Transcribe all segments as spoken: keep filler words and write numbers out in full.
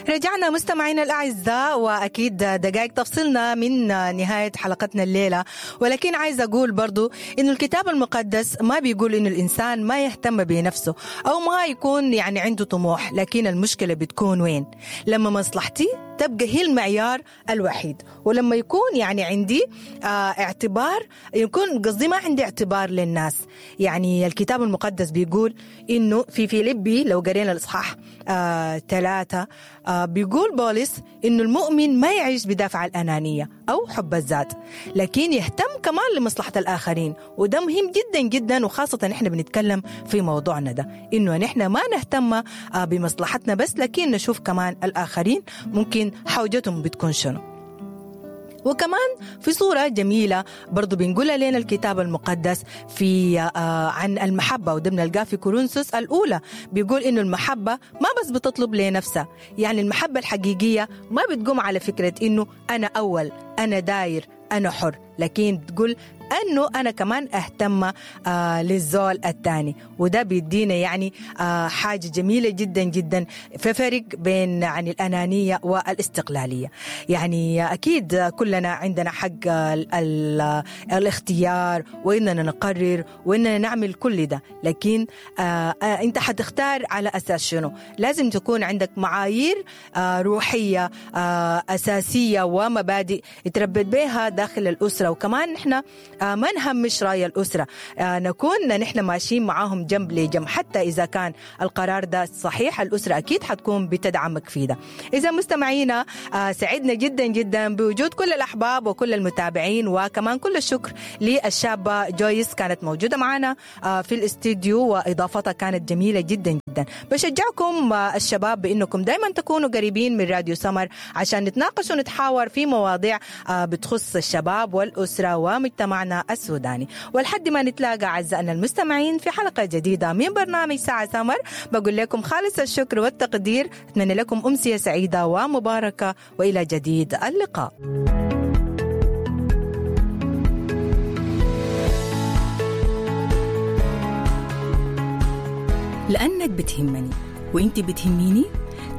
رجعنا مستمعينا الأعزاء، وأكيد دقائق تفصلنا من نهاية حلقتنا الليلة، ولكن عايز أقول برضو إنه الكتاب المقدس ما بيقول إنه الإنسان ما يهتم بنفسه أو ما يكون يعني عنده طموح، لكن المشكلة بتكون وين؟ لما مصلحتي تبقى هي المعيار الوحيد، ولما يكون يعني عندي آه اعتبار، يكون قصدي ما عندي اعتبار للناس. يعني الكتاب المقدس بيقول إنه في فيليبي لو قرينا الإصحاح آه ثلاثة آه بيقول بولس إنه المؤمن ما يعيش بدافع الأنانية أو حب الذات، لكن يهتم كمان لمصلحة الآخرين، وده مهم جدا جدا، وخاصة نحن بنتكلم في موضوعنا ده إنه نحن ما نهتم آه بمصلحتنا بس، لكن نشوف كمان الآخرين ممكن حوجتهم بتكون شنو. وكمان في صورة جميلة برضو بنقولها لنا الكتاب المقدس في آه عن المحبة، وده بنلقاه في كورنثوس الأولى، بيقول إنه المحبة ما بس بتطلب لنفسها، يعني المحبة الحقيقية ما بتقوم على فكرة إنه أنا أول، أنا داير، أنا حر، لكن بتقول أنه أنا كمان أهتم آه للزول الثاني، وده بيدينا يعني آه حاجة جميلة جدا جدا في فرق بين يعني الأنانية والاستقلالية. يعني أكيد كلنا عندنا حق ال ال الاختيار، وإننا نقرر وإننا نعمل كل ده، لكن آه آه أنت حتختار على أساس شنو؟ لازم تكون عندك معايير آه روحية آه أساسية ومبادئ يتربت بها داخل الأسرة، وكمان نحن آه ما نهمش رأي الأسرة، آه نكون نحن ماشيين معاهم جنب لجنب، حتى إذا كان القرار ده صحيح الأسرة أكيد حتكون بتدعمك فيه ده. إذا مستمعينا آه سعدنا جدا جدا بوجود كل الأحباب وكل المتابعين، وكمان كل الشكر للشابة جويس كانت موجودة معنا آه في الاستديو، وإضافتها كانت جميلة جدا جدا. بشجعكم آه الشباب بأنكم دايما تكونوا قريبين من راديو سمر عشان نتناقش ونتحاور في مواضيع آه بتخص الشباب والأسرة ومجتمعنا السوداني. ولحد ما نتلاقى أعزائنا المستمعين في حلقة جديدة من برنامج ساعة سمر، بقول لكم خالص الشكر والتقدير، أتمنى لكم أمسية سعيدة ومباركة، وإلى جديد اللقاء. لأنك بتهمني وإنت بتهميني،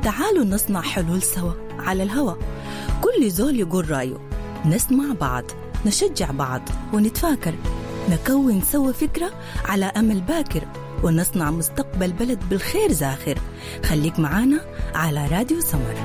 تعالوا نصنع حلول سوا على الهوا، كل زول يقول رأيه، نسمع بعض، نشجع بعض، ونتفاكر، نكون سوا فكرة على أمل باكر، ونصنع مستقبل بلد بالخير زاخر. خليك معانا على راديو سمر.